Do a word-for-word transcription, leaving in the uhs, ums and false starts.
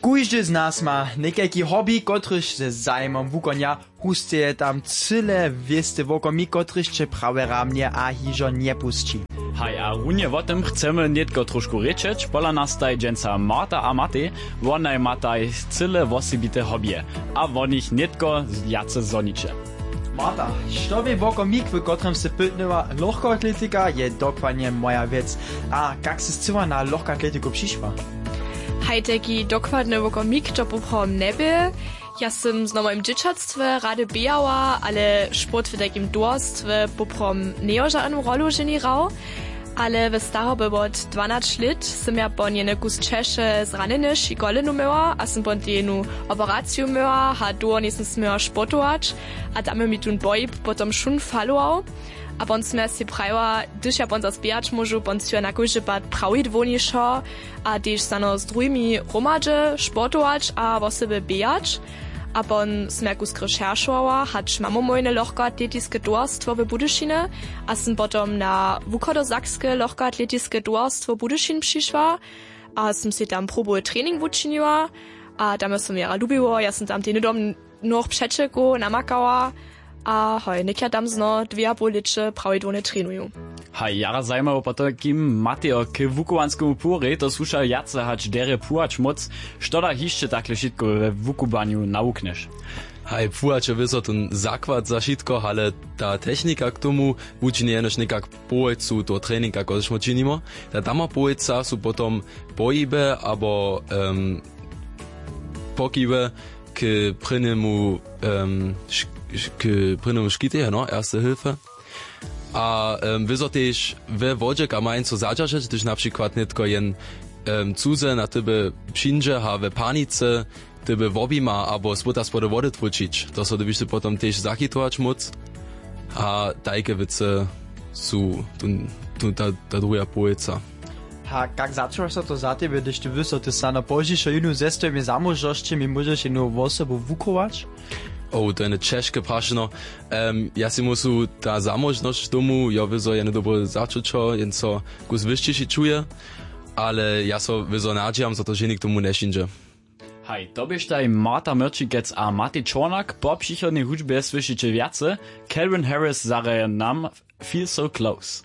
Kóždy z nas ma někajki hobby, kotryž ze zajimom wukonja. Husteje tam cyle wěsty wokomik, kotryž će prawje ramnje a hižo njepusći. Haj, a runje wo tym chcemy nětko trošku rěčeć. Pola nas taj dźensa Marta a Matej. Wonaj mataj cyle wosebite hobbyje a wo nich nětko wjace zhoniće. Marta, što bě wokomik, w kotrymž sy pytnyła? Lochkoatletika je dokładnje moja wěc. A kak sy scyła na lochkoatletiku přišła? Haj, tajki dokładny wokomik to poprawom njebě. Ja sym zno w mojim dźěćatstwje rady běhała, ale sport w tajkim towarstwje poprawom njejo žadnu rolu ženi hrał. Ale w starobje wot dwanaće lět sym ja po njeny kus ćeše zranjeny ši kolenu měła a sym po tej jenu operaciju měła a dołho njejsym směła sportować. A tam je mi tón pohib potom wšón falował. A pon sym ja sej prajiła, hdyž ja pon zas běhać móžu, pon sym ja na kóždy pad prawidłownjejšo a tež snano z druhimi hromadźe sportować a wosebje běhać. A pon sym ja kusk rešeršowała, hač mamy mójne lochkoatletiske towarstwo w Budyšinje a sym potom na wuchodosakske lochkoatletiske towarstwo Budyšin přišła a sym sej tam probowy trening wučiniła. A tam jo sym jara lubiło, ja sym tam tej hnydom mnoch přećelkow namakała. A hoj, něk ja tam zno dwě a poł lěće prawidłownje trenuju. Haj, jara zajimało potom, kim Matejo k wukowanskemu purjej to słuša wjace hač derje płuwać móc. Što da hišće takle wšitko we wukubanju nawuknješ? Haj, płuwać je wězo ten zakład za wšitko, ale ta technika k tomu wučinje jenož někak połojcu toho treninga, kotryž my činimo. Ta dama połojca su potom pohiby abo um, pokiwy k prěnjemu um, š- š- k prěnjemu škitej, no, erste hilfe. A um, wězo tež we wodźe kamajnco zadźeržeć, hdyž na přikład nětko jen um, cuze na tebe přińdźe a we panice tebe wobjima abo spóta spody wody twóčić, to so dybiš ty potom tež zachitować móc. A tajke wěcy su tu, tu, ta, ta druha połojca. A kak začuwaš so to za tebje, hdyž ty wěš, zo ty snano pozdźišo jónu ze swojimi zamóžnosćemi móžeš jónu wosobu wuchować? O, to je jedne ćežke prašeno. Um, ja sej myslu, ta zamóžnosć tomu jo wězo jedne dobre začućo, jen so kus wyšćiši čuje. Ale ja so wězo nadźijam, zo to ženi k tomu njepřińdźe. Haj, to běštaj Marta Myrčikec a Matej Čornak. Po přichodnej hudźbje słyšiće wjace. Calvin Harris zahraje nam Feel So Close.